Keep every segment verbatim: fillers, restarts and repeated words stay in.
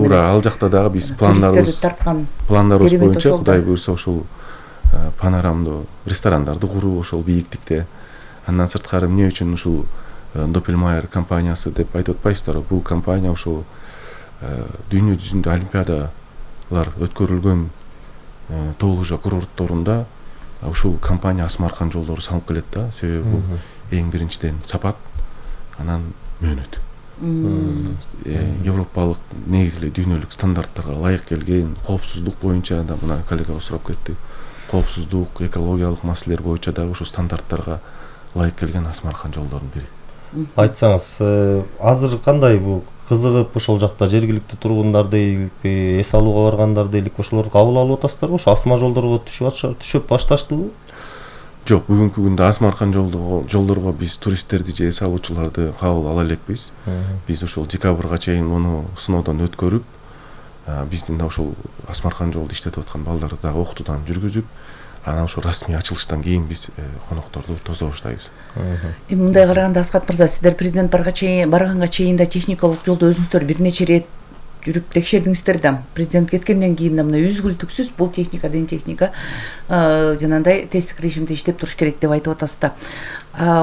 туура ал жакта дагы биз пландарыбыз пландарыбыз боюнча Кудай буйрса ушул панорамдуу ресторандарды куруу ошол бийиктикте. Андан сырткары эмне үчүн ушул Doppelmayr компаниясы деп айтып атпайсыздарбы? Бул компания ошол дүйнө жүзүндө олимпиадалар өткөрүлгөн тоо лыжа курортторунда ушул компания Асмаркан жолдору салып келет да. Себеби бул эң биринчиден сапат, анан мөөнөт. Европалык негизи эле дүйнөлүк стандарттарга ылайык келген, коопсуздук боюнча да мына коллега сурап кетти. Коопсуздук, экологиялык маселелер боюнча дагы ушул стандарттарга ылайык келген Асмаркан жолдорунун бири. Айтсаңыз, азыр кандай бул кызыгып ошол жакта жергиликтүү тургундар дейли, эс алууга баргандар дейли, ошолорду кабыл алып атасыздарбы? Ошо асма жолдорго түшүп түшүп башташтыбы? Жок, бүгүнкү күндө Асмаркан жолдорго биз туристтерди же эс алуучуларды кабыл ала элекпиз. Биз ушул декабрга чейин муну сыноодон өткөрүп, биздин да ошол Асмаркан жолду иштетип аткан балдарды дагы окутуудан жүргүзүп, анан ошо расмий ачылыштан кийин биз конокторду тосо баштайбыз. Эми мындай караганда Аскат мырза, сиздер президент барганга чейин да техникалык жолдо өзүңүздөр бир нече ирет жүрүп текшердиңиздер да. Президент кеткенден кийин да мына үзгүлтүксүз бул техника ден техника жанагындай тесттик режимде иштеп туруш керек деп айтып атасыз да.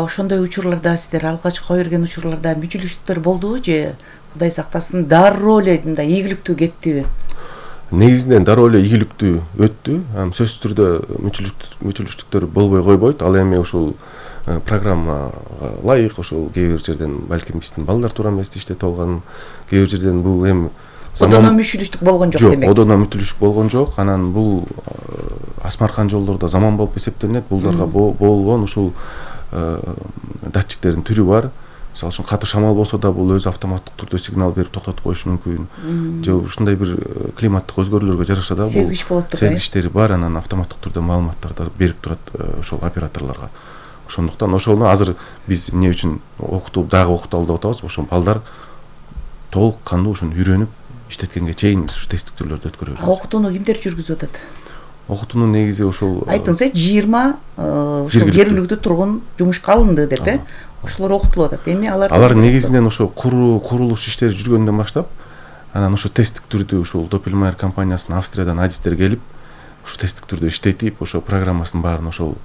Ошондой учурларда сиздер алгачкы кое берген учурларда мүчүлүштүктөр болдубу же Кудай сактасын дароо эле мындай ийгиликтүү кеттиби? Негизинен дароо эле ийгиликтүү өттү. Сөзсүз түрдө мүчүлүштүктөр болбой койбойт. Ал эми ушул программага ылайык, ошол кээ бир жерден балким биздин балдар туура эмес иштетип алган, кээ бир жерден бул эми одоно мүчүлүштүк болгон жок демек. Жок, одоно мүчүлүштүк болгон жок. Анан бул Асмаркан жолдордо заман болуп эсептелинет. Булдарга болгон ушул датчиктердин түрү бар. Мисалы үчүн катуу шамал болсо да бул өзү автоматтык түрдө сигнал берип токтотуп коюшу мүмкүн. Же ушундай бир климаттык өзгөрүүлөргө жараша да бул сезгич болот турбайбы? Сезгичтери бар, анан автоматтык түрдө маалыматтарды берип турат ошол операторлорго. Ошондуктан ошону азыр биз эмне үчүн окутуп дагы окуталы деп атабыз? Ошо балдар толук кандуу ушуну үйрөнүп иштеткенге чейин ушу тесттик түрлөрдү өткөрөбүз. Окутууну кимдер жүргүзүп атат? Окутууну негизи ошол айтыңызчы, жыйырма ошол жергиликтүү тургун жумушка алынды деп э? Ошолор окутулуп атат. Эми алар алар негизинен ошо куруу курулуш иштери жүргөндөн баштап, анан ошо тесттик түрдү ушул Doppelmayr компаниясынын Австриядан адистер келип, ошо тесттик түрдө иштетип, ошо программасын баарын ошол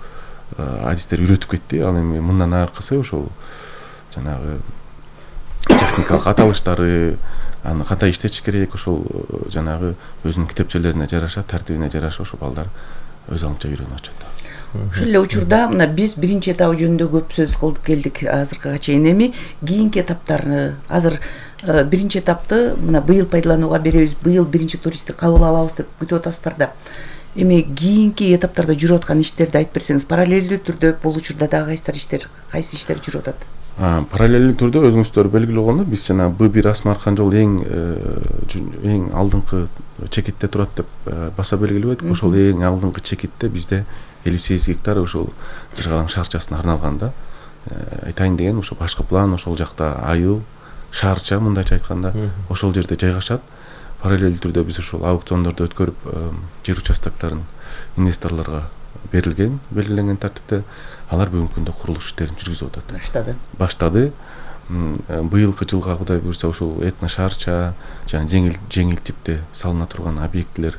адистер үйрөтүп кетти. Ал эми мындан аркысы ошол жанагы техникалык аталыштары, аны кандай иштетиш керек, ошол жанагы өзүнүн китепчелерине жараша, тартибине жараша ошо балдар өз алынча үйрөнүп атышат. Ушул эле учурда мына биз биринчи этабы жөнүндө көп сөз кылып келдик азыркыга чейин. Эми кийинки этаптарны азыр биринчи этапты мына быйыл пайдаланууга беребиз, быйыл биринчи туристти кабыл алабыз деп күтүп атасыздар да. Эми кийинки этаптарда жүрүп аткан иштерди айтып берсеңиз, параллелдүү түрдө бул учурда дагы кайсы иштер, кайсы иштер жүрүп атат? Параллелдүү түрдө өзүңүздөр белгилүү болгондо биз жана Б бир Асмаркан жол эң эң алдыңкы чекитте турат деп баса белгилеп айттык. Ошол эң алдыңкы чекитте бизде элүү сегиз гектар ошол Жыргалаң шаарчасына арналган да. Айтайын деген ошо башкы план ошол жакта айыл, шаарча мындайча айтканда ошол жерде жайгашат. Параллелдүү түрдө биз ошол аукциондорду өткөрүп жер участокторун инвесторлорго берилген, белгиленген тартипте алар бүгүнкү күндө курулуш иштерин жүргүзүп атат. Баштады. Баштады. Быйылкы жылга Кудай буйрса ошол этно шаарча жана жеңил жеңил типте салына турган объектилер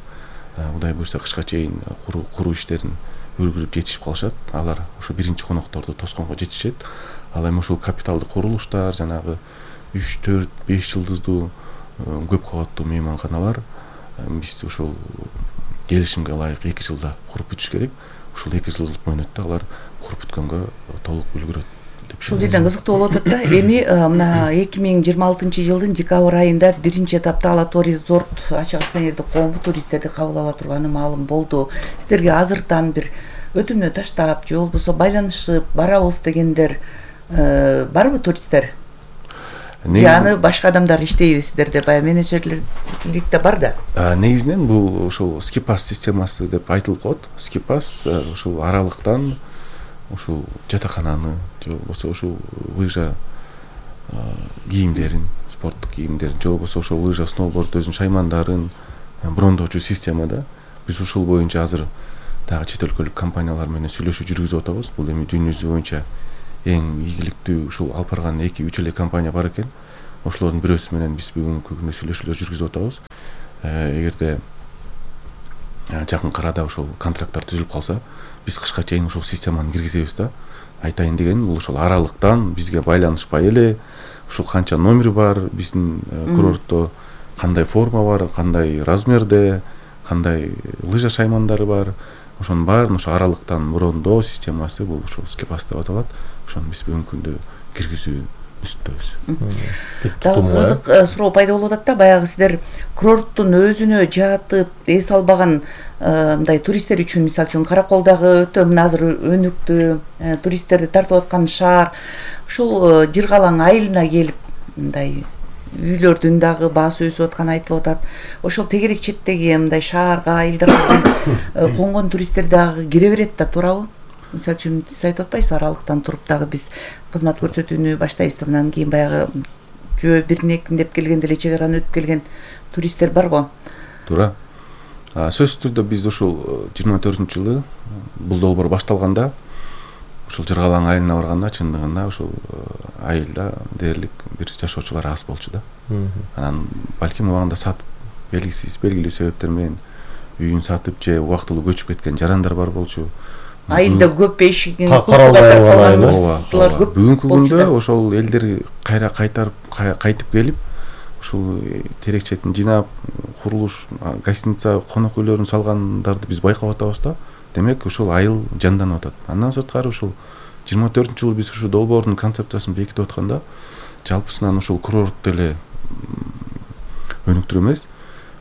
Кудай буйрса кышка чейин куруу куруу иштерин үлгүрүп жетишип калышат. Алар ошо биринчи конокторду тосконго жетишет. Ал эми ушул капиталдык курулуштар, жанагы үч, төрт, беш жылдыздуу көп кабаттуу мейманканалар биз ушул келишимге ылайык эки жылда куруп бүтүш керек. Ушул эки жылдык мөөнөттө алар куруп бүткөнгө толук үлгүрөт деп. Ушул жерден кызыктуу болуп атат да. Эми мына эки миң жыйырма алтынчы жылдын декабрь айында биринчи этапта Ала Тоо резорт ачык акционердик коому туристтерди кабыл ала турганы маалым болду. Сиздерге азыртан бир өтүнмө таштап же болбосо байланышып барабыз дегендер барбы туристтер? Же аны башка адамдар иштейбиздер деп баягы менеджерлик да бар да. Негизинен бул ушул скипас системасы деп айтылып коет. Скипас ушул аралыктан ушул жатакананы же болбосо ушул лыжа кийимдерин, спорттук кийимдерин же болбосо ошол лыжа сноуборд өзүнүн шаймандарын брондоочу системада биз ушул боюнча азыр дагы чет өлкөлүк компаниялар менен сүйлөшүү жүргүзүп атабыз. Бул эми дүйнө жүзү боюнча эң ийгиликтүү ушул алып барган эки үч эле компания бар экен. Ошолордун бирөөсү менен биз бүгүнкү күндө сүйлөшүүлөр жүргүзүп атабыз. эгерде жакын арада ошол контракттар түзүлүп калса, биз кышка чейин ушул системаны киргизебиз да. Айтайын дегеним, бул ошол аралыктан бизге байланышпай эле ушул канча номер бар, биздин курортто кандай форма бар, кандай размерде, кандай лыжа шаймандары бар, ошонун баарын ошо аралыктан брондоо системасы, бул ошол скепас деп аталат. Ошону биз бүгүнкү күндө киргизүү үстүндөбүз. Дагы кызык суроо пайда болуп атат да, баягы сиздер курорттун өзүнө жатып эс албаган мындай туристтер үчүн, мисалы үчүн Караколдогу өтө мына азыр өнүктүү туристтерди тартып аткан шаар, ушул Жыргалаң айылына келип мындай үйлөрдүн дагы баасы өсүп атканы айтылып атат. Ошол тегерек четтеги мындай шаарга, айылдарга келип конгон туристтер дагы кире берет да, туурабы? Мисалы үчүн сиз айтып атпайсызбы, аралыктан туруп дагы биз кызмат көрсөтүүнү баштайбыз да, андан кийин баягы жөө биринекиндеп келген деле чек араны өтүп келген туристтер бар го. Туура. Сөзсүз түрдө биз ушул жыйырма төртүнчү жылы бул долбоор башталганда, ушул Жыргалаң айылына барганда чындыгында ушул айылда дээрлик бир жашоочулар аз болчу да. Анан балким убагында сатып, белгисиз белгилүү себептер менен үйүн сатып же убактылуу көчүп кеткен жарандар бар болчу. Айылда көп эшигин каралбай бүгүнкү күндө ошол элдер кайра кайтарып кайтып келип, ушул терек четин жыйнап, курулуш, гостиница, конок үйлөрүн салгандарды биз байкап атабыз да. Демек ушул айыл жанданып атат. Андан сырткары ушул жыйырма төртүнчү жылы биз ушул долбоордун концепциясын бекитип атканда, жалпысынан ушул курорт деле өнүктүрүү эмес,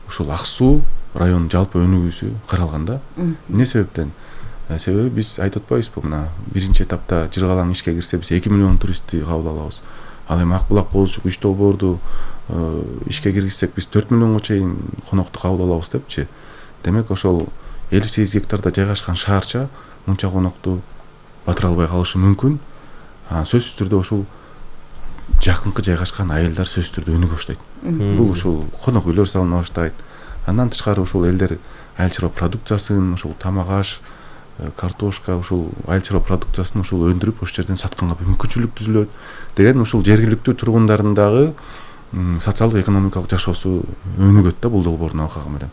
ушул Ак Суу районунун жалпы өнүгүүсү каралган да. Эмне себептен? Себеби биз айтып атпайбызбы, мына биринчи этапта Жыргалаң ишке кирсе биз эки миллион туристти кабыл алабыз. Ал эми Ак Булак, Бозучук үч долбоорду ишке киргизсек биз төрт миллионго чейин конокту кабыл алабыз депчи. Демек ошол элүү сегиз гектарда жайгашкан шаарча мынча конокту батыра албай калышы мүмкүн. Сөзсүз түрдө ушул жакынкы жайгашкан айылдар сөзсүз түрдө өнүгө баштайт. Бул ушул конок үйлөр салына баштайт. Андан тышкары ушул элдер айыл чарба продукциясын, ушул тамак аш, картошка, ушул айыл чарба продукциясын ушул өндүрүп ошол жерден сатканга мүмкүнчүлүк түзүлөт. Деген ушул жергиликтүү тургундардын дагы социалдык экономикалык жашоосу өнүгөт да бул долбоордун алкагы менен.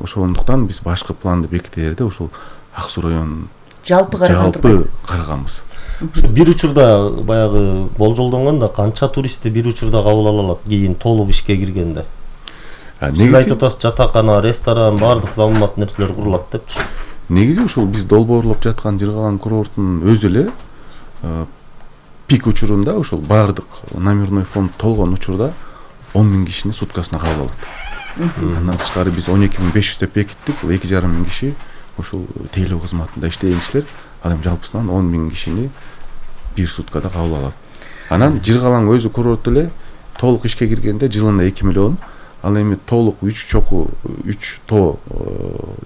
Ошондуктан биз башкы планды бекитерде ушул Ак Суу районун жалпы караганбыз. Бир учурда баягы болжолдонгондо канча туристти бир учурда кабыл ала алат кийин толук ишке киргенде? Сиз айтып атасыз, жатакана, ресторан, баардык заманбап нерселер курулат депчи. Негизи ушул биз долбоорлоп жаткан Жыргалаң курортунун өзү эле пик учурунда ушул баардык номерной фонд толгон учурда он миң кишини суткасына кабыл алат. Андан тышкары биз он эки миң беш жүз деп бекиттик. Бул эки жарым миң киши ушул тейлөө кызматында иштеген кишилер. Ал эми жалпысынан он миң кишини бир суткада кабыл алат. Анан Жыргалаң өзү курорт эле толук ишке киргенде жылына эки миллион, ал эми толук үч чоку үч тоо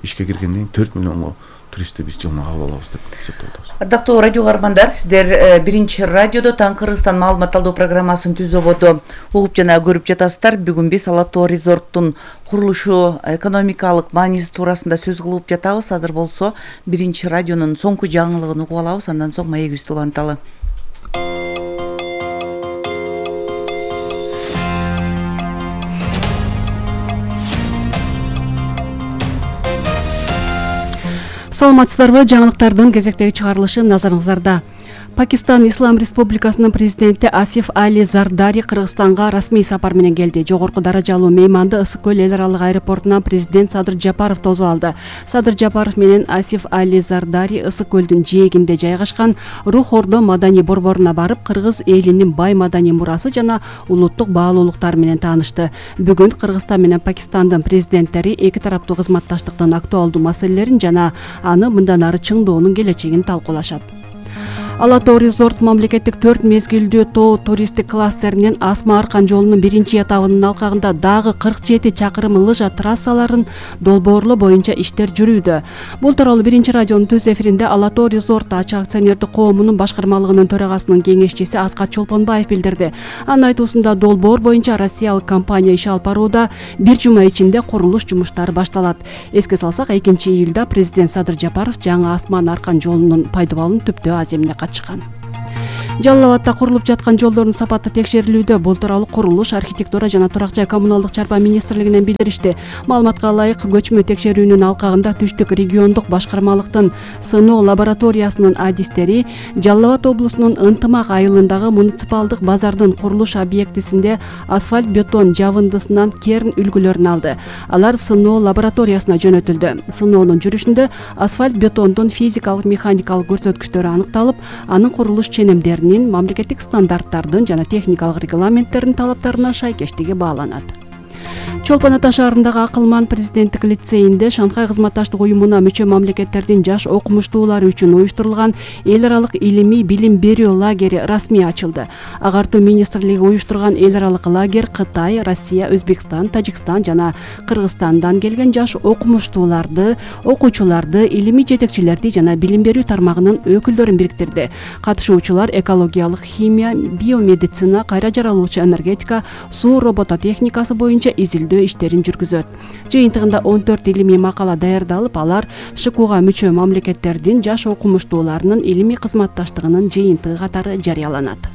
ишке киргенден кийин төрт миллионго туристти биз жылына кабыл алабыз деп эсептеп атабыз. Ардактуу радио каармандар, сиздер биринчи радиодо Таң Кыргызстан маалымат алуу программасын түз ободо угуп жана көрүп жатасыздар. Бүгүн биз Ала Тоо резорттун курулушу экономикалык мааниси туурасында сөз кылып жатабыз. Азыр болсо биринчи радионун соңку жаңылыгын угуп алабыз, андан соң маегибизди уланталы. Саламатсыздарбы? Жаңылыктардын кезектеги чыгарылышы назарыңыздарда. Пакистан Ислам Республикасынын президенти Асиф Али Зардари Кыргызстанга расмий сапар менен келди. Жогорку даражалуу мейманды Ысык көл эл аралык аэропортунан президент Садыр Жапаров тосуп алды. Садыр Жапаров менен Асиф Али Зардари Ысык көлдүн жээгинде жайгашкан Рух Ордо маданий борборуна барып, кыргыз элинин бай маданий мурасы жана улуттук баалуулуктары менен таанышты. Бүгүн Кыргызстан менен Пакистандын президенттери эки тараптуу кызматташтыктын актуалдуу маселелерин жана аны мындан ары чыңдоонун келечегин талкуулашат. Ала Тоо резорт мамлекеттик төрт мезгилдүү тоо туристтик кластеринин Асма Аркан жолунун биринчи этабынын алкагында дагы кырк жети чакырым лыжа трассаларын долбоорлоо боюнча иштер жүрүүдө. Бул тууралуу биринчи радионун түз эфиринде Ала Тоо резорт ачык акционердик коомунун башкармалыгынын төрагасынын кеңешчиси Аскат Чолпонбаев билдирди. Анын айтуусунда долбоор боюнча россиялык компания иш алып барууда, бир жума ичинде курулуш жумуштары башталат. Эске салсак, экинчи июлда президент Садыр Жапаров жаңы Асма Аркан жолунун пайдубалын Түптөө Аземине катышкан. Жалал Абадта курулуп жаткан жолдордун сапаты текшерилүүдө. Бул тууралуу курулуш, архитектура жана турак жай коммуналдык чарба министрлигинен билдиришти. Маалыматка ылайык, көчмө текшерүүнүн алкагында Түштүк региондук башкармалыктын сыноо лабораториясынын адистери Жалал Абад облусунун Ынтымак айылындагы муниципалдык базардын курулуш объектисинде асфальт бетон жабындысынан керн үлгүлөрүн алды. Алар сыноо лабораториясына жөнөтүлдү. Сыноонун жүрүшүндө асфальт бетондун физикалык механикалык көрсөткүчтөрү аныкталып, анын курулуш ченемдеринин мамлекеттик стандарттардын жана техникалык регламенттердин талаптарына шайкештиги бааланат. Чолпон Ата шаарындагы Акылман президенттик лицейинде Шанхай кызматташтык уюмуна мүчө мамлекеттердин жаш окумуштуулары үчүн уюштурулган эл аралык илимий билим берүү лагери расмий ачылды. Агартуу министрлиги уюштурган эл аралык лагерь Кытай, Россия, Өзбекстан, Тажикстан жана Кыргызстандан келген жаш окумуштууларды, окуучуларды, илимий жетекчилерди жана билим берүү тармагынын өкүлдөрүн бириктирди. Катышуучулар экологиялык химия, биомедицина, кайра жаралуучу энергетика, суу робототехникасы боюнча изилдөө иштерин жүргүзөт. Жыйынтыгында он төрт илимий макала даярдалып, алар ШКУга мүчө мамлекеттердин жаш окумуштууларынын илимий кызматташтыгынын жыйынтыгы катары жарыяланат.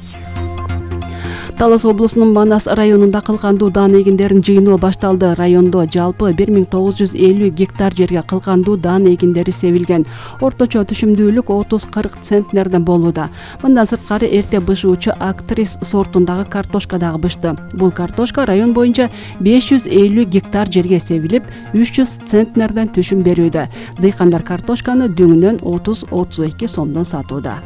Талас облусунун Манас районунда кылкандуу даан эгиндерин жыйноо башталды. Райондо жалпы бир миң тогуз жүз элүү гектар жерге кылкандуу даан эгиндери себилген. Орточо түшүмдүүлүк отуз кырк центнерден болууда. Мындан сырткары эрте бышуучу актрис сортундагы картошка дагы бышты. Бул картошка район боюнча беш жүз элүү гектар жерге себилип, үч жүз центнерден түшүм берүүдө. Дыйкандар картошканы дүңүнөн отуз отуз эки сомдон сатууда.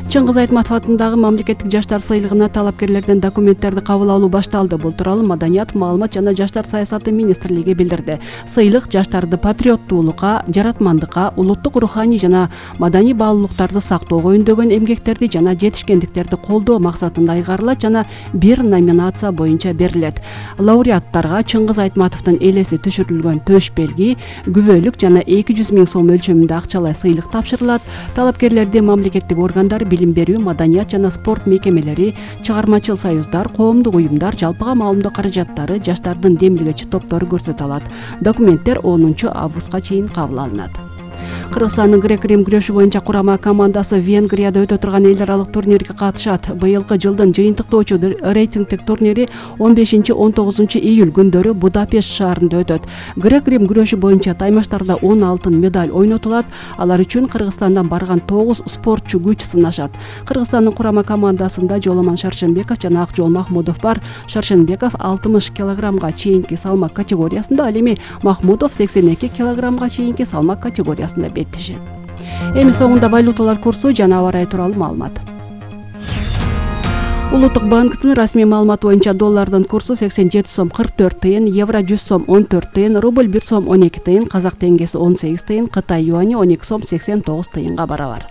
Чыңгыз Айтматов атындагы мамлекеттик жаштар сыйлыгына талапкерлерден документтерди кабыл алуу башталды. Бул тууралуу Маданият, маалымат жана жаштар саясаты министрлиги билдирди. Сыйлык жаштарды патриоттуулукка, жаратмандыкка, улуттук руханий жана маданий баалуулуктарды сактоого үндөгөн эмгектерди жана жетишкендиктерди колдоо максатында айгарылат жана бир номинация боюнча берилет. Лауреаттарга Чыңгыз Айтматовдун элеси түшүрүлгөн төш белги, күбөлүк жана эки жүз миң сом өлчөмүндө акчалай сыйлык тапшырылат. Талапкерлерди мамлекеттик органдар, билим берүү, маданият жана спорт мекемелери, чыгармачыл союздар, коомдук уюмдар, жалпыга маалымдоо каражаттары, жаштардын демилгечи топтору көрсөтө алат. Документтер онунчу августка чейин кабыл алынат. Кыргызстандын грек-рим күрөшү боюнча курама командасы Венгрияда өтө турган эл аралык турнирге катышат. Быйылкы жылдын жыйынтыктоочу рейтингдик турнири он бешинчи он тогузунчу июль күндөрү Будапешт шаарында өтөт. Грек-рим күрөшү боюнча таймаштарда он алтын медаль ойнотулат. Алар үчүн Кыргызстандан барган тогуз спортчу күч сынашат. Кыргызстандын курама командасында Жоломан Шаршенбеков жана Акжол Махмудов бар. Шаршенбеков алтымыш килограммга чейинки салмак категориясында, ал эми Махмудов сексен эки килограммга чейинки салмак категориясында беттешет. Эми соңунда валюталар курсу жана аба ырайы тууралуу маалымат. Улуттук банктын расмий маалыматы боюнча доллардын курсу сексен жети сом кырк төрт тыйын, евро жүз сом он төрт тыйын, рубль бир сом он эки тыйын, казак теңгеси он сегиз тыйын, Кытай юани он эки сом сексен тогуз тыйынга барабар.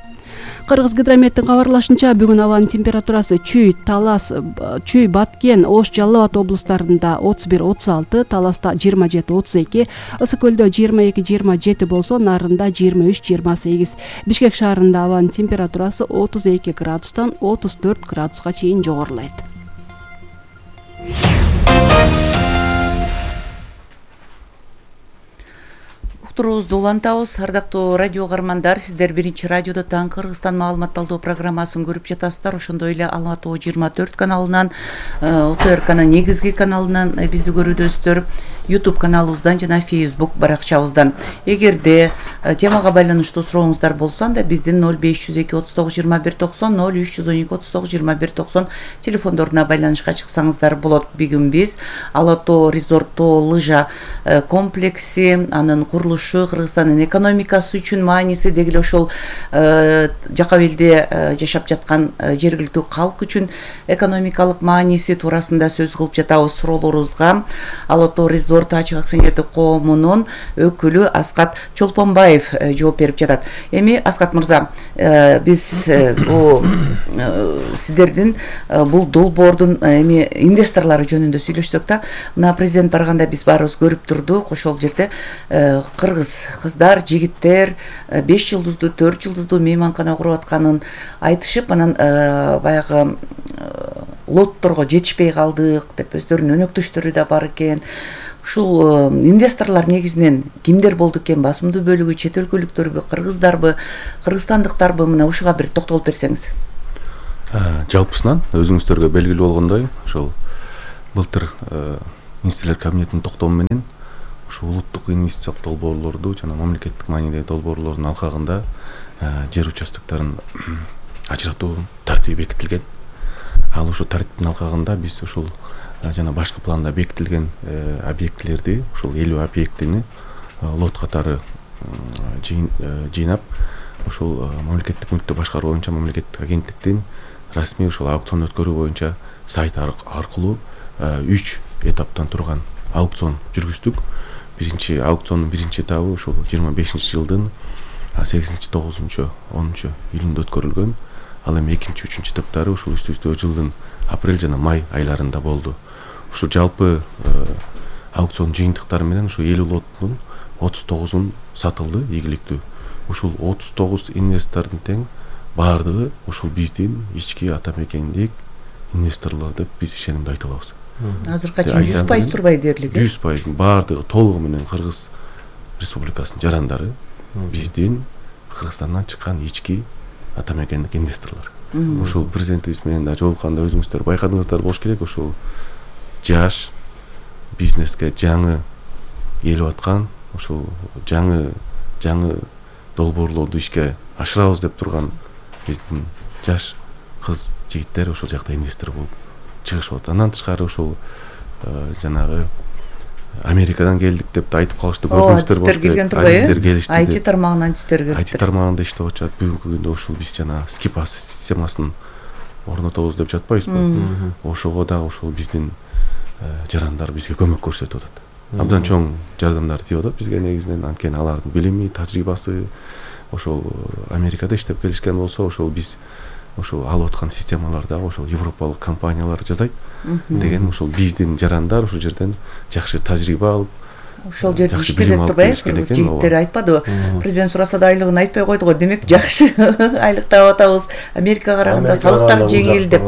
Кыргыз гидрометтин кабарлашынча, бүгүн абанын температурасы Чүй, Талас, Чүй, Баткен, Ош, Жалал Абад облустарында отуз бир отуз алты, Таласта жыйырма жети отуз эки, Ысык көлдө жыйырма эки жыйырма жети болсо, Нарында жыйырма үч жыйырма сегиз. Бишкек шаарында абанын температурасы отуз эки градустан отуз төрт градуска чейин жогорулайт. Уктуруубузду улантабыз. Ардактуу радио каармандар, сиздер биринчи радиодо таң Кыргызстан маалыматталдоо программасын көрүп жатасыздар. Ошондой эле Алматы жыйырма төрт каналынан, У Т Р К'нын негизги каналынан бизди көрүүдөсүздөр, YouTube каналыбыздан жана Facebook баракчабыздан. Эгерде темага байланыштуу сурооңуздар болсо, анда биздин ноль беш жүз эки отуз тогуз жыйырма бир токсон, ноль үч жүз он эки отуз тогуз жыйырма бир токсон телефондоруна байланышка чыксаңыздар болот. Бүгүн биз Алато резортто лыжа комплекси, анын курулушу, Кыргызстандын экономикасы үчүн мааниси, деги эле ошол жака элде жашап жаткан жергиликтүү калк үчүн экономикалык мааниси туурасында сөз кылып жатабыз. Суроолорубузга Алато резорт ачык акционердик коомунун өкүлү Аскат Чолпонбаев жооп берип жатат. Эми Аскат мырза, биз бул сиздердин бул долбоордун эми инвесторлору жөнүндө сүйлөшсөк да, мына президент барганда биз баарыбыз көрүп турдук. Ошол жерде кыргыз кыздар, жигиттер беш жылдыздуу, төрт жылдыздуу мейманкана куруп атканын айтышып, анан баягы лотторго жетишпей калдык деп өздөрүнүн өнөктөштөрү да бар экен. Ушул инвесторлор негизинен кимдер болду экен? Басымдуу бөлүгү чет өлкөлүктөрбү, кыргыздарбы, кыргызстандыктарбы? Мына ушуга бир токтолуп берсеңиз. Жалпысынан өзүңүздөргө белгилүү болгондой, ошол былтыр министрлер кабинетинин токтому менен ушул улуттук инвестициялык долбоорлорду жана мамлекеттик маанидеги долбоорлордун алкагында жер участоктарын ажыратуу тартиби бекитилген. Ал ушул тартиптин алкагында биз ушул жана башкы планда бекитилген объектилерди, ушул элүү объектини лот катары жыйнап, ушул мамлекеттик мүлктү башкаруу боюнча мамлекеттик агенттиктин расмий ушул аукцион өткөрүү боюнча сайт аркылуу үч этаптан турган аукцион жүргүздүк. Биринчи аукциондун биринчи этабы ушул жыйырма бешинчи жылдын сегизинчи, тогузунчу, онунчу июнда өткөрүлгөн. Ал эми экинчи, үчүнчү этаптары ушул үстү-үстү жылдын апрель жана май айларында болду. Ушул жалпы аукцион жыйынтыктары менен ушул элүү лоттун отуз тогузун сатылды ийгиликтүү. Ушул отуз тогуз инвестордун тең баардыгы ушул биздин ички ата мекендик инвесторлор деп биз ишенимде айта алабыз. Азыркыга чейин жүз пайыз турбай дээрлик. жүз пайыз баардыгы толугу менен Кыргыз Республикасынын жарандары, биздин Кыргызстандан чыккан ички ата мекендик инвесторлор. Ушул президентибиз менен да жолукканда өзүңүздөр байкадыңыздар болуш керек, ушул жаш бизнеске жаңы келип аткан, ушул жаңы жаңы долбоорлорду ишке ашырабыз деп турган биздин жаш кыз жигиттер ошол жакта инвестор болуп чыгышып атат. Андан тышкары ушул жанагы Америкадан келдик деп да айтып калышты, көрдүңүздөр болуш керек. Артисттер келишти. ай ти тармагынан артисттер келип. ай ти тармагында иштеп атышат. Бүгүнкү күндө ушул биз жана скипас системасын орнотобуз деп жатпайбызбы? Ошого дагы ушул биздин жарандар бизге көмөк көрсөтүп атат. Абдан чоң жардамдар тийип атат бизге негизинен, анткени алардын билими, тажрыйбасы ошол Америкада иштеп келишкен болсо, ошол биз ошол алып аткан системаларда ошол европалык компаниялар жасайт деген ошол биздин жарандар ушул жерден жакшы тажрыйба алып, ошол жерде иштелет турбайбы? Жигиттер айтпадыбы? Президент сураса да айлыгын айтпай койду го. Демек жакшы айлык таап атабыз. Америкага караганда салыктар жеңил деп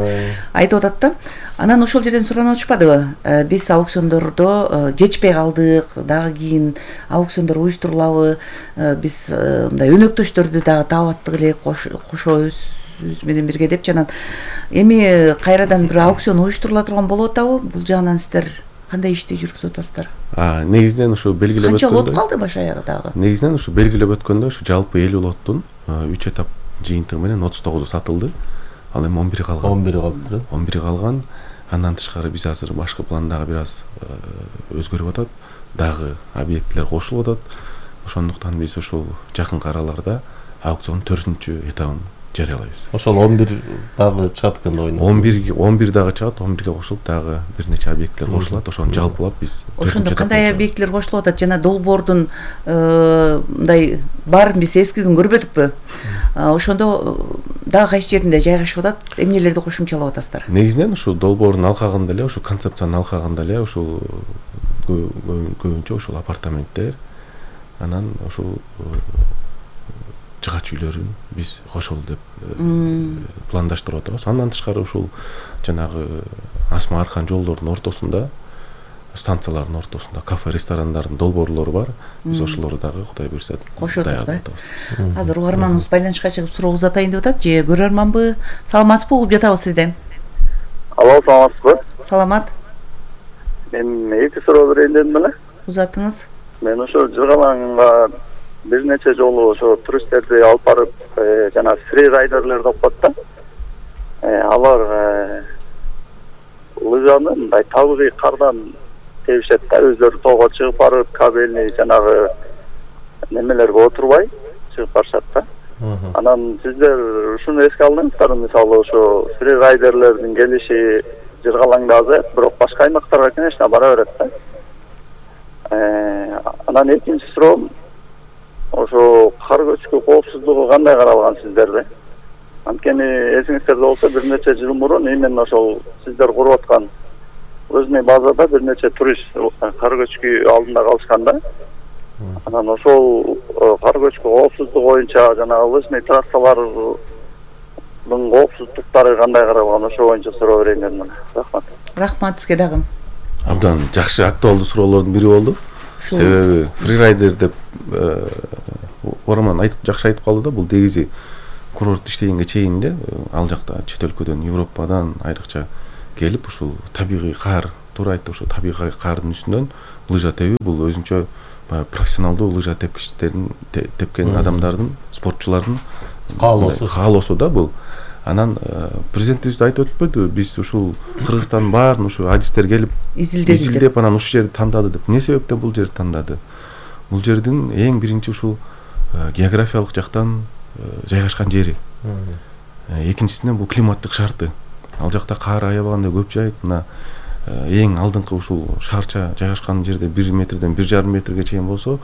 айтып атат да. Анан ошол жерден суранып атышпадыбы? Биз аукциондордо жетишпей калдык, дагы кийин аукциондор уюштурулабы? Биз мындай өнөктөштөрдү дагы таап аттык эле, кошобуз менен бирге деп жанан. Эми кайрадан бир аукцион уюштурула турган болуп атабы? Бул жагынан сиздер кандай ишти жүргүзүп атасыздар? А, негизинен ушу белгилеп өткөндөй. Канча лот калды баш аягы дагы? Негизинен ушу белгилеп өткөндөй, ушу жалпы элүү лоттун үч этап жыйынтыгы менен отуз тогузу сатылды. Ал эми он бири калган. он бири калды. он бири калган. Андан тышкары биз азыр башкы пландагы бир аз өзгөрүп атат. Дагы объектилер кошулуп атат. Ошондуктан биз ушул жакынкы араларда аукциондун төртүнчү этабын жарыялайбыз. Ошол он бир дагы чыгат экен да ойнойт. он бир он бир дагы чыгат, он бирге кошулуп дагы бир нече объектилер кошулат. Ошону жалпылап биз ошондо кандай объектилер кошулуп атат? Жана долбоордун мындай баарын биз эскизин көрбөдүкпү? Ошондо дагы кайсы жеринде жайгашып атат? Эмнелерди кошумчалап атасыздар? Негизинен ушул долбоордун алкагында эле, ушул концепциянын алкагында эле ушул көбүнчө ушул апартаменттер, анан ушул жыгач үйлөрүн биз кошолу деп пландаштырып атабыз. Андан тышкары ушул жанагы Асма Аркан жолдордун ортосунда, станциялардын ортосунда кафе, ресторандардын долбоорлору бар. Биз ошолорду дагы Кудай буйрса кошуп атабыз. Азыр угарманыбыз байланышка чыгып суроо узатайын деп атат. Же көрөрманбы? Саламатсызбы? Угуп жатабыз сизди. Алло, саламатсызбы? Саламат. Мен эки суроо берейин дедим эле. Узатыңыз. Мен ошо Жыргалаңга бир нече жолу ошо туристтерди алып барып, жана фри райдерлер деп коет да. Алар лыжаны мындай табигый кардан тебишет да, өздөрү тоого чыгып барып, кабельный жанагы немелерге отурбай чыгып барышат да. Анан сиздер ушуну эске алдыңыздар, мисалы ошо фри райдерлердин келиши Жыргалаңда азайып, бирок башка аймактарга конечно бара берет да. Анан экинчи суроом, ошо кар көчкү коопсуздугу кандай каралган сиздерде? Анткени эсиңиздерде болсо бир нече жыл мурун именно ошол сиздер куруп аткан өзүнүн базада бир нече турист кар көчкү алдында калышкан да. Анан ошол кар көчкү коопсуздугу боюнча жанагы лыжный трассалардын коопсуздуктары кандай каралган? Ошо боюнча суроо берейин дедим. Рахмат. Рахмат сизге дагы. Абдан жакшы актуалдуу суроолордун бири болду. Себеби фрирайдер деп Ораман айтып жакшы айтып калды да, бул негизи курорт иштегенге чейин эле ал жакта чет өлкөдөн, Европадан айрыкча келип ушул табигый каар, туура айтты, ушул табигый каардын үстүнөн лыжа тебүү бул өзүнчө баягы профессионалдуу лыжа тепкичтердин тепкен адамдардын, спортчулардын каалоосу каалоосу да бул. Анан президентибиз айтып өтпөдү, биз ушул Кыргызстандын баарын ушу адистер келип изилдеп анан ушул жерди тандады деп. Эмне себептен бул жерди тандады? Бул жердин эң биринчи ушул географиялык жактан жайгашкан жери. Экинчисинен бул климаттык шарты. Ал жакта каар аябаганда көп жайыт. Мына эң алдыңкы ушул шаарча жайгашкан жерде бир метрден бир жарым метрге чейин болсо,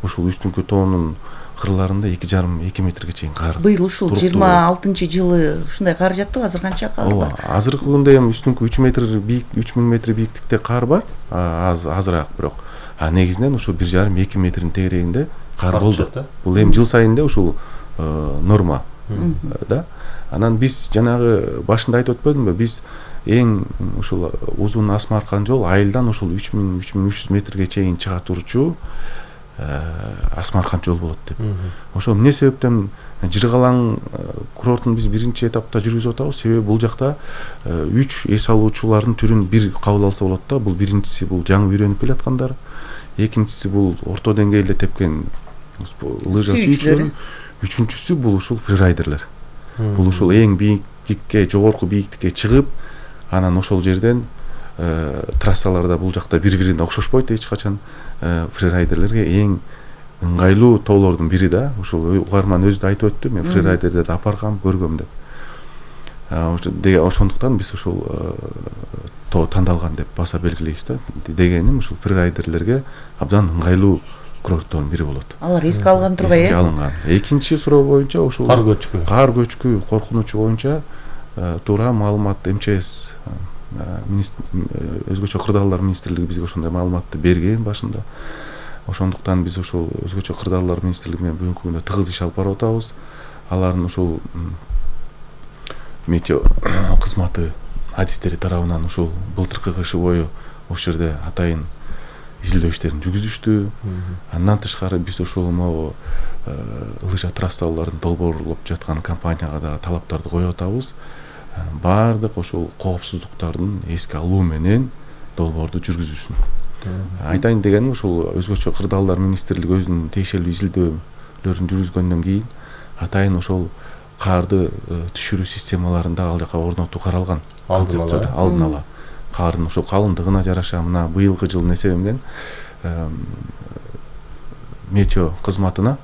ушул үстүнкү тоонун кырларында эки жарым эки метрге чейин каар. Быйыл ушул жыйырма алтынчы жылы ушундай каар жаптыбы? Азыр канча каар бар? Азыркы күндө эми үстүнкү үч метр бийик, үч миң метр бийиктикте каар бар. Аз азыраак бирок. А негизинен ушул бир жарым эки метрдин тегерегинде каар болду. Бул эми жыл сайын эле ушул норма да. Анан биз жанагы башында айтып өтпөдүмбү? Биз эң ушул узун асма аркан жол айылдан ушул үч миң үч миң үч жүз метрге чейин чыга турчу асма аркан жол болот деп. Ошо эмне себептен Жыргалаң курортун биз биринчи этапта жүргүзүп атабыз? Себеби бул жакта үч эс алуучулардын түрүн бир кабыл алса болот да. Бул биринчиси бул жаңы үйрөнүп келаткандар, экинчиси бул орто деңгээлде тепкен лыжа сүйүүчүлөр, үчүнчүсү бул ушул фрирайдерлер. Бул ушул эң бийиктикке, жогорку бийиктикке чыгып, анан ошол жерден трассаларда бул жакта бири-бирине окшошпойт эч качан. Фрирайдерлерге эң ыңгайлуу тоолордун бири да. Ушул угарман өзү да айтып өттү, мен фрирайдерди да апаргам, көргөм деп. Ошондуктан биз ушул тоо тандалган деп баса белгилейбиз да. Дегеним ушул фрирайдерлерге абдан ыңгайлуу курорттордун бири болот. Алар эске алган турбай э? Эске алынган. Экинчи суроо боюнча ушул кар көчкү. Кар көчкү коркунучу боюнча туура маалымат эм че эс өзгөчө кырдаалдар министрлиги бизге ошондой маалыматты берген башында. Ошондуктан биз ушул өзгөчө кырдаалдар министрлиги менен бүгүнкү күндө тыгыз иш алып барып атабыз. Алардын ушул метео кызматы адистери тарабынан ушул былтыркы кышы бою ошол жерде атайын изилдөө иштерин жүргүзүштү. Андан тышкары биз ушул могу лыжа трассаларын долбоорлоп жаткан компанияга да талаптарды коюп атабыз. Баардык ошол коопсуздуктардын эске алуу менен долбоорду жүргүзүшүн. Айтайын дегеним ушул өзгөчө кырдаалдар министрлиги өзүнүн тиешелүү изилдөөлөрүн жүргүзгөндөн кийин атайын ошол карды түшүрүү системаларында ал жака орнотуу каралган. Алдын ала кардын ошол калыңдыгына жараша мына быйылкы жыл эсеби менен метео кызматына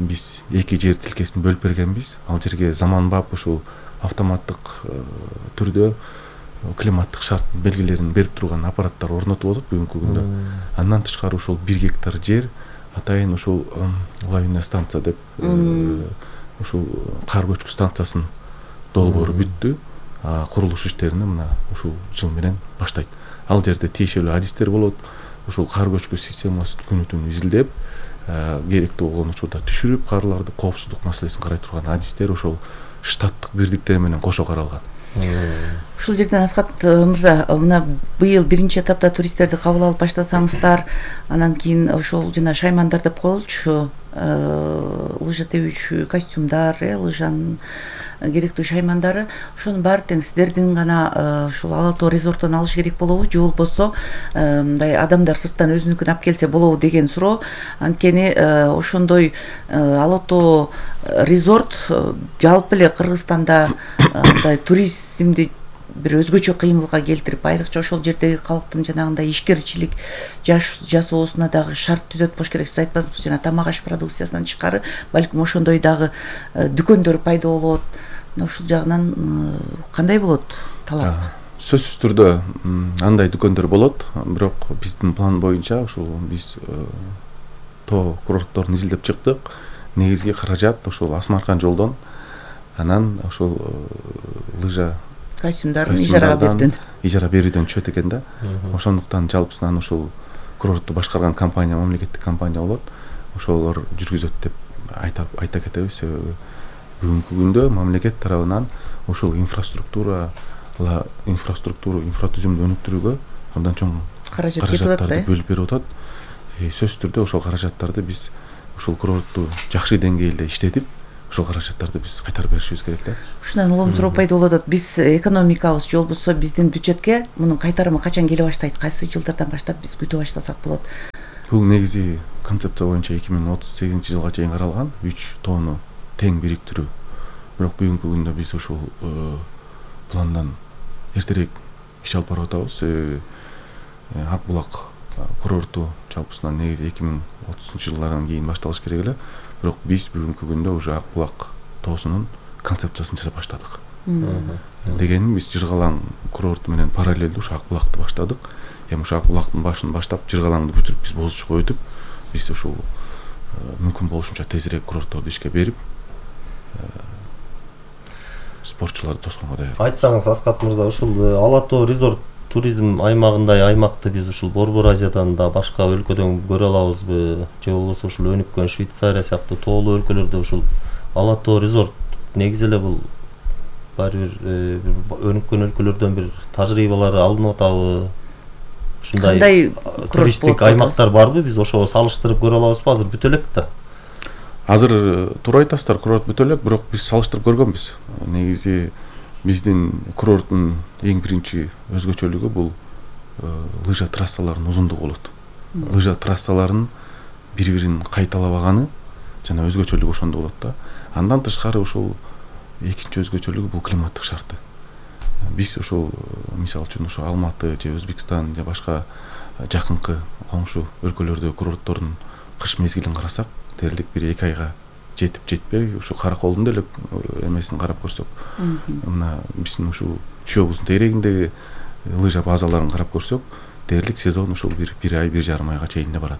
биз эки жер тилкесин бөлүп бергенбиз. Ал жерге заманбап ушул автоматтык түрдө климаттык шарт белгилерин берип турган аппараттар орнотуп атат бүгүнкү күндө. Андан тышкары ушул бир гектар жер атайын ушул лавина станция деп ушул кар көчкү станциясынын долбоору бүттү. Курулуш иштерини мына ушул жыл менен баштайт. Ал жерде тиешелүү адистер болот. Ушул кар көчкү системасын күнү түнү изилдеп, керектүү болгон учурда түшүрүп, карларды коопсуздук маселесин карай турган адистер ошол штаттык бирдиктер менен кошо каралган. Ушул жерден Аскат мырза, мына быйыл биринчи этапта туристтерди кабыл алып баштасаңыздар, анан кийин ошол жана шаймандар деп коелучу, лыжа тебүүчү костюмдар, лыжанын керектүү шаймандары, ошонун баары тең сиздердин гана ушул Ала Тоо резорттон алыш керек болобу, же болбосо мындай адамдар сырттан өзүнүкүн алып келсе болобу деген суроо. Анткени ошондой Ала Тоо резорт жалпы эле Кыргызстанда мындай туризмди бир өзгөчө кыймылга келтирип, айрыкча ошол жердеги калктын жанагындай ишкерчилик жасоосуна дагы шарт түзөт болуш керек. Сиз айтпасаңыз, жана тамак аш продукциясынан тышкары балким ошондой дагы дүкөндөр пайда болот. Ушул жагынан кандай болот талап? Сөзсүз түрдө андай дүкөндөр болот, бирок биздин план боюнча ушул биз тоо курортторун изилдеп чыктык. Негизги каражат ошол асма аркан жолдон, анан ошол лыжа костюмдарын ижарага берүүдөн ижара берүүдөн түшөт экен да. Ошондуктан жалпысынан ушул курортту башкарган компания мамлекеттик компания болот. Ошолор жүргүзөт деп айта айта кетебиз. Себеби бүгүнкү күндө мамлекет тарабынан ушул инфраструктура инфраструктура инфратүзүмдү өнүктүрүүгө абдан чоң каражаттарды бөлүп берип атат. Сөзсүз түрдө ошол каражаттарды биз ушул курортту жакшы деңгээлде иштетип, ошол каражаттарды биз кайтарып беришибиз керек да. Ушундан улам суроо пайда болуп атат. Биз экономикабыз же болбосо биздин бюджетке мунун кайтарымы качан келе баштайт? Кайсы жылдардан баштап биз күтө баштасак болот? Бул негизи концепция боюнча эки миң отуз сегизинчи жылга чейин каралган үч тонну тең бириктирүү. Бирок бүгүнкү күндө биз ушул пландан эртерээк иш алып барып атабыз. Ак булак курорту жалпысынан негизи эки миң отузунчу жылдардан кийин башталыш керек эле. Бирок биз бүгүнкү күндө уже Ак булак тоосунун концепциясын жасап баштадык. Дегеним биз Жыргалаң курорту менен параллелдүү ушу Ак булакты баштадык. Эми ушу Ак булактын башын баштап Жыргалаңды бүтүрүп биз Боз Учка өтүп, биз ушул мүмкүн болушунча тезирээк курортторду ишке берип спортчуларды тосконго даяр. Айтсаңыз Аскат мырза, ушул Ала Тоо резорт туризм аймагындай аймакты биз ушул Борбор Азиядан да башка өлкөдөн көрө алабызбы? Же болбосо ушул өнүккөн Швейцария сыяктуу тоолуу өлкөлөрдө ушул Ала Тоо резорт негизи эле бул баары бир өнүккөн өлкөлөрдөн бир тажрыйбалары алынып атабы? Ушундай туристтик аймактар барбы? Биз ошого салыштырып көрө алабызбы? Азыр бүтө элек да. Азыр туура айтасыздар, курорт бүтө элек, бирок биз салыштырып көргөнбүз. Негизи биздин курорттун эң биринчи өзгөчөлүгү бул лыжа трассаларынын узундугу болот. Лыжа трассаларынын бири-бирин кайталабаганы жана өзгөчөлүгү ошондо болот да. Андан тышкары ушул экинчи өзгөчөлүгү бул климаттык шарты. Биз ушул мисалы үчүн ушу Алматы же Өзбекстан же башка жакынкы коңшу өлкөлөрдө курорттордун кыш мезгилин карасак, дээрлик бир эки айга жетип жетпей ушу Караколдун деле эмесин карап көрсөк, мына биздин ушул Чүй-Обуздун тегерегиндеги лыжа базаларын карап көрсөк, дээрлик сезон ушул бир бир ай, бир жарым айга чейин да барат.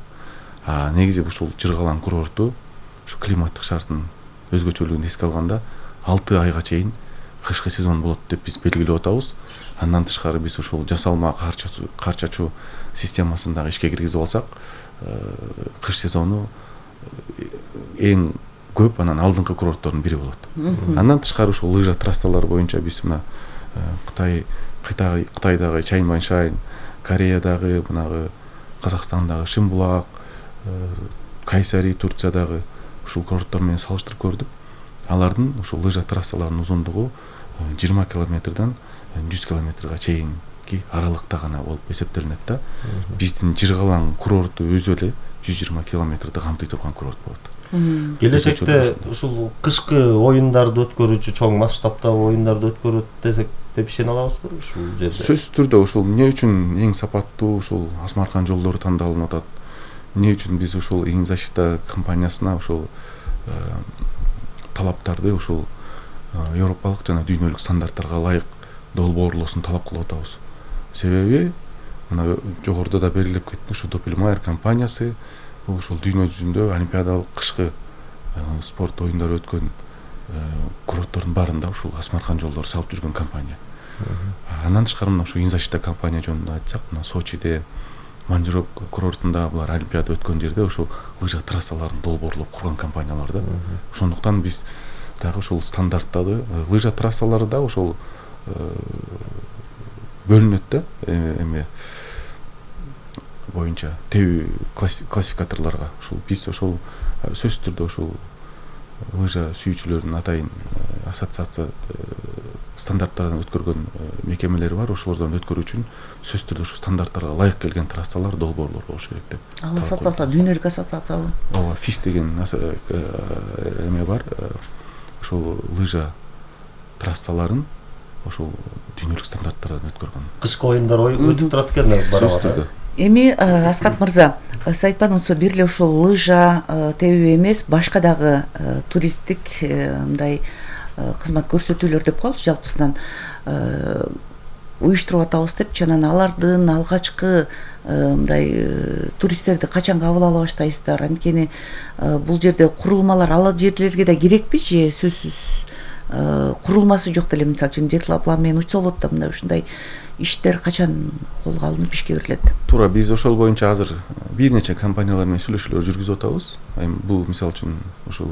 А негизи ушул Жыргалаң курорту ушу климаттык шарттын өзгөчөлүгүн эске алганда алты айга чейин кышкы сезон болот деп биз белгилеп атабыз. Андан тышкары биз ушул жасалма кар чачуу системасын дагы ишке киргизип алсак, кыш сезону эң көп анан алдыңкы курорттордун бири болот. Андан тышкары ушул лыжа трассалары боюнча биз мына Кытай, Кытайдагы Чаньманьшань, Кореядагы, мынагы Казакстандагы Шимбулак, Кайсари, Турциядагы ушул курорттор менен салыштырып көрдүк. Алардын ушул лыжа трассаларынын узундугу жыйырма километрден жүз километрге чейинки аралыкта гана болуп эсептелинет да. Биздин Жыргалаң курорту өзү эле жүз жыйырма километрди камтый турган курорт болот. Келечекте ушул кышкы оюндарды өткөрүүчү, чоң масштабтагы оюндарды өткөрөт десек деп ишене алабызбы ушул жерде? Сөзсүз түрдө ушул эмне үчүн эң сапаттуу ушул Асмаркан жолдору тандалынып атат? Эмне үчүн биз ушул Эң защита компаниясына ушул талаптарды ушул европалык жана дүйнөлүк стандарттарга ылайык долбоорлоосун талап кылып атабыз? Себеби мына жогоруда да белгилеп кеттим, ушу Doppelmayr компаниясы ушул дүйнө жүзүндө олимпиадалык кышкы спорт оюндары өткөн курорттордун баарында ушул Асмаркан жолдору салып жүргөн компания. Андан тышкары мына ушу Эң защита компания жөнүндө айтсак, мына Сочиде, Манжирок курортунда булар олимпиада өткөн жерде ушул лыжа трассаларын долбоорлоп курган компаниялар да. Ошондуктан биз дагы ушул стандарттарды, лыжа трассалары да ушул бөлүнөт да, эме боюнча тебүү классификаторлорго. Ушул биз ошол сөзсүз түрдө ушул лыжа сүйүүчүлөрдүн атайын ассоциация стандарттардан өткөргөн мекемелери бар. Ошолордон өткөрүү үчүн сөзсүз түрдө ушу стандарттарга ылайык келген трассалар, долбоорлор болуш керек деп. Ал ассоциация дүйнөлүк ассоциациябы? Ооба, фис деген эме бар. Ошол лыжа трассаларын ошол дүйнөлүк стандарттардан өткөргөн. Кышкы оюндар өтүп турат экен барабыз. Эми Аскат мырза, сиз айтканыңызча бир эле ушул лыжа тебүү эмес, башка дагы туристтик мындай кызмат көрсөтүүлөр деп коелучу, жалпысынан уюштуруп атабыз депчи, анан алардын алгачкы мындай туристтерди качан кабыл ала баштайсыздар? Анткени бул жерде курулмалар ал жерлерге да керекпи же сөзсүз курулмасы жок деле, мисалы үчүн жетила план менен учса болот да, мындай ушундай иштер качан колго алынып ишке берилет? Туура, биз ошол боюнча азыр бир нече компаниялар менен сүйлөшүүлөр жүргүзүп атабыз. Эми бул мисалы үчүн ушул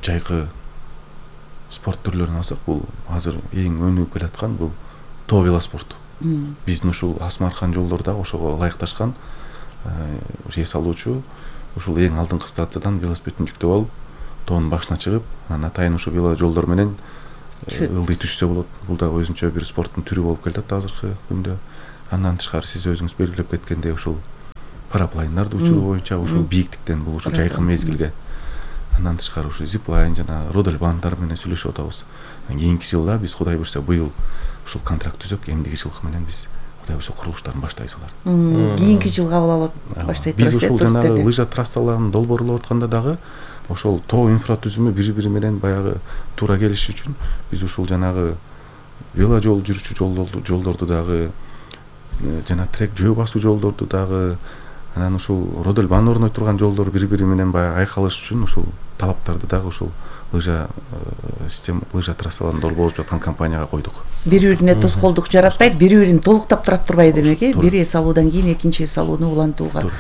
жайкы спорт түрлөрүн алсак, бул азыр эң өнүгүп келаткан бул тоо велоспорту. Биздин ушул Асмаркан жолдору да ошого ылайыкташкан. Рейс алуучу ушул эң алдыңкы станциядан велосипедин жүктөп алып, тоонун башына чыгып, анан атайын ушу вело жолдор менен ылдый түшсө болот. Бул дагы өзүнчө бир спорттун түрү болуп келатат азыркы күндө. Андан тышкары сиз өзүңүз белгилеп кеткендей ушул параплайндарды учуруу боюнча ушул бийиктиктен бул ушул жайкын мезгилге. Андан тышкары ушул зиплайн жана родельбандар менен сүйлөшүп атабыз. Кийинки жылда биз Кудай буйрса быйыл ушул контракт түзөк, эмдиги жылкы менен биз Кудай буйрса курулуштарын баштайбыз алар. Кийинки жылга кабыл алып баштайт турасыз. Биз ушул жанагы лыжа трассаларын долбоорлоп атканда дагы ошол тоо инфратүзүмү бири-бири менен баягы туура келиш үчүн биз ушул жанагы вело жол жүрүүчү жолдорду жолдорду дагы жана трек жөө басуу жолдорду дагы анан ушул родельбан орной турган жолдор бири-бири менен баягы айкалыш үчүн ушул талаптарды дагы ушул лыжа система лыжа трассаларын долбооруп жаткан компанияга койдук. Бири-бирине тоскоолдук жаратпайт, бири-бирин толуктап турат турбайбы демек, э? Бир эс алуудан кийин экинчи эс алууну улантууга.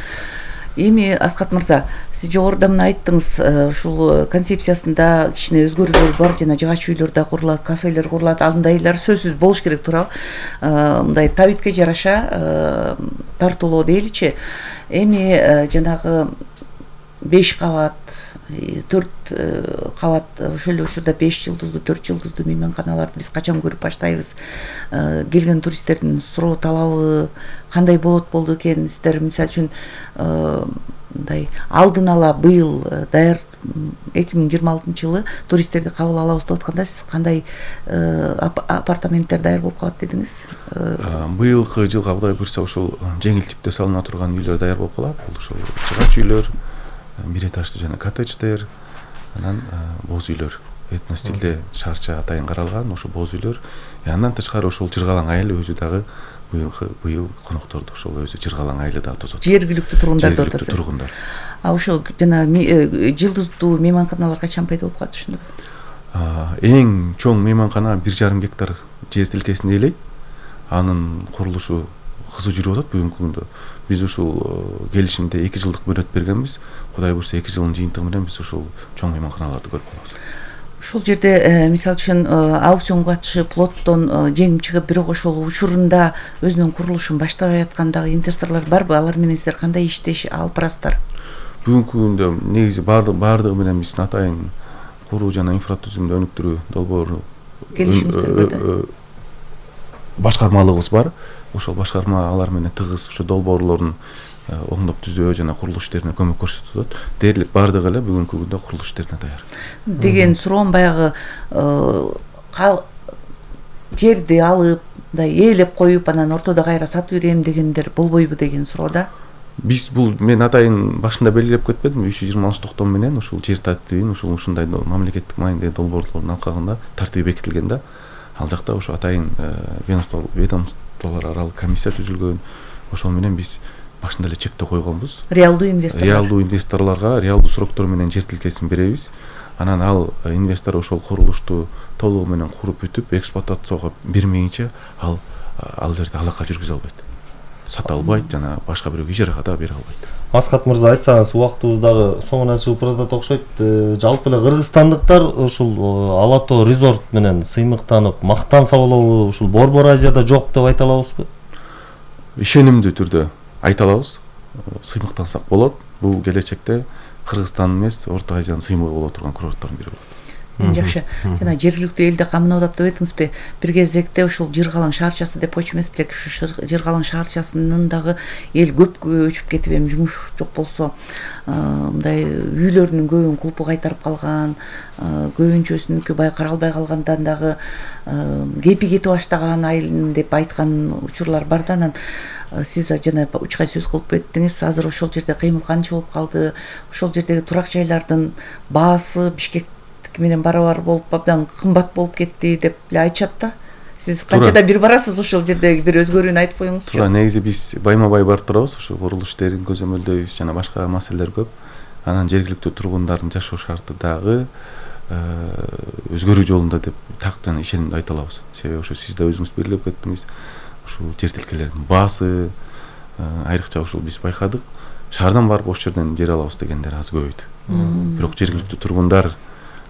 Эми Аскат мырза, сиз жогоруда мына айттыңыз, ушул концепциясында кичине өзгөрүүлөр бар, жана жыгач үйлөр да курулат, кафелер курулат, андайлар сөзсүз болуш керек, туурабы? Мындай табитке жараша тартуулоо дейличи. Эми жанагы беш кабат, төрт кабат ошол эле учурда беш жылдыздуу, төрт жылдыздуу мейманканаларды биз качан көрүп баштайбыз? Келген туристтердин суроо талабы кандай болот болду экен? Сиздер мисалы үчүн мындай алдын ала быйыл даяр эки миң жыйырма алтынчы жылы туристтерди кабыл алабыз деп атканда сиз кандай апартаменттер даяр болуп калат дедиңиз? Быйылкы жылга Кудай буйрса ушул жеңил типте салына турган үйлөр даяр болуп калат. Бул ушул жыгач үйлөр, бир этаждуу жана коттедждер, анан боз үйлөр, этно стилде шаарча атайын каралган ошол боз үйлөр. Андан тышкары ошол Жыргалаң айылы өзү дагы быйылкы быйыл конокторду ошол өзү Жыргалаң айылы дагы тосот. Жергиликтүү тургундар деп атасыз. Жергиликтүү тургундар. А ошол жана жылдыздуу мейманканалар качан пайда болуп калат ушунда? Эң чоң мейманкана бир жарым гектар жер тилкесин ээлейт. Анын курулушу кызуу жүрүп атат бүгүнкү күндө. Биз ушул келишимде эки жылдык мөөнөт бергенбиз. Кудай буйрса эки жылдын жыйынтыгы менен биз ушул чоң мейманканаларды көрүп калабыз. Ошол жерде мисалы үчүн аукционго катышып лоттон жеңип чыгып, бирок ошол учурунда өзүнүн курулушун баштабай аткан дагы инвесторлор барбы? Алар менен сиздер кандай иштеш алып барасыздар? Бүгүнкү күндө негизи баардыгы менен биз атайын куруу жана инфратүзүмдү өнүктүрүү долбоору келишимиздер бар. Башкармалыгыбыз бар. Ошол башкарма алар менен тыгыз ушу долбоорлорун оңдоп түзөө жана курулуш иштерине көмөк көрсөтүп атат. Дээрлик баардыгы эле бүгүнкү күндө курулуш иштерине даяр. Деген суроом баягы жерди алып, мындай ээлеп коюп, анан ортодо кайра сатып берем дегендер болбойбу деген суроо да. Биз бул мен атайын башында белгилеп кетпедимби, үч жүз жыйырма токтом менен ушул жер тартибин ушул ушундай мамлекеттик маанидеги долбоорлордун алкагында тартиби бекитилген да. Ал жакта ушу атайын ведомстволор аралык комиссия түзүлгөн. Ошол менен биз башында эле чектөө койгонбуз. Реалдуу инвесторлор. Реалдуу инвесторлорго реалдуу сроктор менен жер тилкесин беребиз. Анан ал инвестор ошол курулушту толугу менен куруп бүтүп, эксплуатацияга бермейинче ал ал жерде алака жүргүзө албайт. Сата албайт жана башка бирөөгө ижарага да бере албайт. Аскат мырза, айтсаңыз, убактыбыз дагы соңуна чыгып баратат окшойт. Жалпы эле кыргызстандыктар ушул Ала Тоо резорт менен сыймыктанып, мактан сабалоо ушул Борбор Азияда жок деп айта алабызбы? Ишенимдүү түрдө айта алабыз. Сыймыктансак болот. Бул келечекте Кыргызстан эмес, Орто Азиянын сыймыгы боло турган курорттордун бири болот. Жакшы. Жана жергиликтүү элде камынап атат деп айтыңызбы? Бир кезекте ушул Жыргалаң шаарчасы деп койчу эмес белек, ушу Жыргалаң шаарчасынын дагы эл көп көчүп кетип, эми жумуш жок болсо, мындай үйлөрүнүн көбүн кулпу кайтарып калган, көбүнчөсүнүкү бай каралбай калгандан дагы кепи кетип баштаган айылын деп айткан учурлар бар да. Анан сиз жана учкай сөз кылып өттүңүз, азыр ошол жерде кыймыл канча болуп калды? Ошол жердеги турак жайлардын баасы Бишкек менен барабар болуп абдан кымбат болуп кетти деп эле айтышат да. Сиз канчада бир барасыз ошол жердеги бир өзгөрүүнү айтып коюңузчу. Туура, негизи биз байма бай барып турабыз, ошо курулуш иштерин көзөмөлдөйбүз жана башка маселелер көп. Анан жергиликтүү тургундардын жашоо шарты дагы өзгөрүү жолунда деп так жана ишенимдүү айта алабыз. Себеби ошо сиз да өзүңүз белгилеп кеттиңиз, ушул жер тилкелердин баасы айрыкча ушул биз байкадык. Шаардан барып ошол жерден жер алабыз дегендер аз көбөйдү. Бирок жергиликтүү тургундар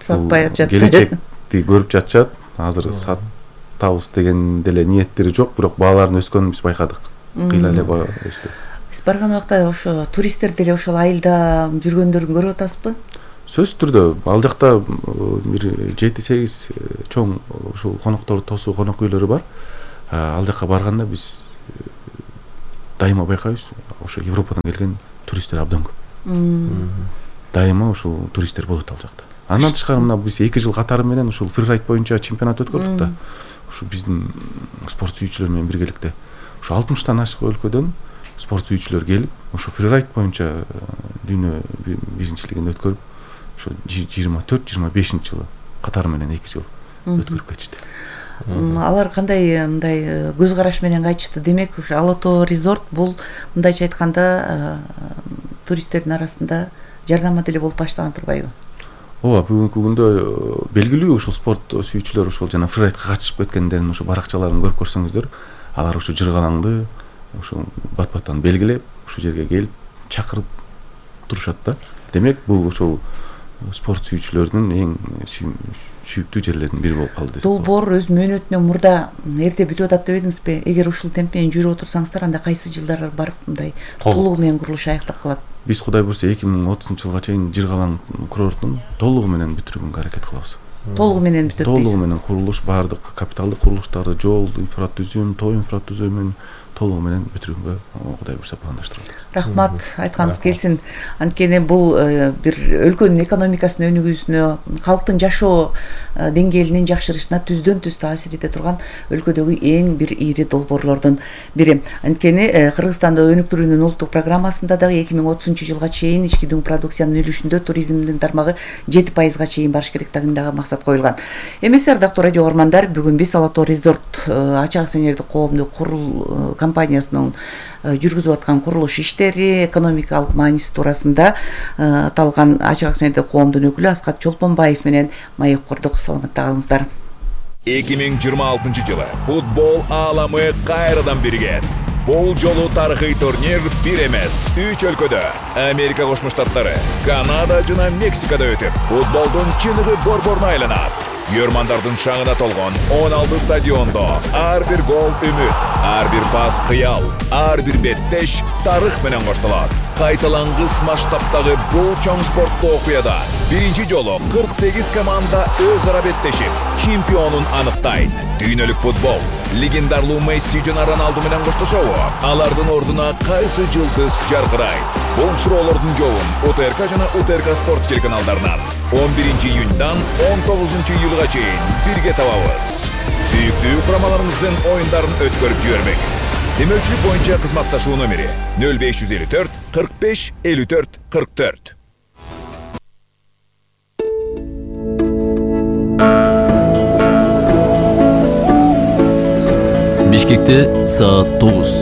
сатпай атышат. Келечекти көрүп жатышат. Азыр сатабыз деген деле ниеттери жок, бирок баалардын өскөнүн биз байкадык. Кыйла эле баа өстү. Биз барган убакта ошо туристтер деле ошол айылда жүргөндөрүн көрүп атасызбы? сөзсүз түрдө ал жакта бир жети сегиз чоң ушул конокторду тосуу конок үйлөрү бар. Ал жака барганда биз дайыма байкайбыз, ошо Европадан келген туристтер абдан көп. Дайыма ушул туристтер болот ал жакта. Андан тышкары мына биз эки жыл катары менен ушул фрирайд боюнча чемпионат өткөрдүк да. Ушу биздин спорт сүйүүчүлөр менен биргеликте ушу алтымыштан ашык өлкөдөн спорт сүйүүчүлөр келип, ушу фрирайд боюнча дүйнө биринчилигин өткөрүп, ушу жыйырма төрт жыйырма бешинчи жылы катары менен эки жыл өткөрүп кетишти. Алар кандай мындай көз караш менен кайтышты? Демек, ушу Ала Тоо резорт бул мындайча айтканда туристтердин арасында жарнама деле болуп баштаган турбайбы? Ооба, бүгүнкү күндө белгилүү ушул спорт сүйүүчүлөр ушул жана фрирайдка катышып кеткендердин ушу баракчаларын көрүп көрсөңүздөр, алар ушу Жыргалаңды ушу бат-баттан белгилеп, ушу жерге келип чакырып турушат да. Демек, бул ушул спорт сүйүүчүлөрдүн эң сүйүктүү жерлеринин бири болуп калды. Долбоор өз мөөнөтүнө мурда эрте бүтүп атат деп эдиңизби? Эгер ушул темп менен жүрүп отурсаңыздар, анда кайсы жылдары барып мындай толугу менен курулуш аяктап калат? Биз Кудай буйрса эки миң отузунчу жылга чейин Жыргалаң курортун толугу менен бүтүрүүгө аракет кылабыз. Толугу менен бүтөт. Толугу менен курулуш, баардык капиталдык курулуштарды, жол, инфратүзүм, тоо инфратүзүмүн толугу менен бүтүрүүгө Кудай буйрса пландаштырабыз. Рахмат, айтканыңыз келсин. Анткени бул бир өлкөнүн экономикасынын өнүгүүсүнө, калктын жашоо деңгээлинин жакшырышына түздөн түз таасир эте турган өлкөдөгү эң бир ири долбоорлордун бири. Анткени Кыргызстанды өнүктүрүүнүн улуттук программасында дагы эки миң отузунчу жылга чейин ички дүң продукциянын үлүшүндө туризмдин тармагы жети пайызга чейин барыш керек деген дагы максат коюлган. Эмесе, ардактуу радио угармандар, бүгүн биз Ала Тоо резорт ачык акционердик коомдук курул компаниясынын жүргүзүп аткан курулуш иштери, экономикалык мааниси туурасында аталган ачык акционердик коомдун өкүлү Аскат Чолпонбаев менен маек курдук. Саламатта калыңыздар. эки миң жыйырма алтынчы жылы футбол ааламы кайрадан биригет. Бул жолу тарыхый турнир бир эмес, үч өлкөдө, Америка Кошмо Штаттары, Канада жана Мексикада өтүп, футболдун чыныгы борборуна айланат. Көрмандардын шаңына толгон он алты стадиондо ар бир гол үмүт, ар бир пас кыял, ар бир беттеш тарых менен коштолот. Кайталангыс масштабтагы бул чоң спорттук окуяда биринчи жолу кырк сегиз команда өз ара беттешип, чемпионун аныктайт. Дүйнөлүк футбол легендарлуу Месси жана Роналду менен коштошобу? Алардын ордуна кайсы жылдыз жаркырайт? Бул суроолордун жообун УТРК жана УТРК спорт телеканалдарынан он биринчи июньдан он тогузунчу июлга чейин бирге табабыз. Сүйүктүү курамаларыңыздын оюндарын өткөрүп жибербеңиз. Демөөлчүлүк боюнча кызматташуу номери нөл беш жүз элүү төрт кырк беш элүү төрт кырк төрт. Бишкекте саат тогуз.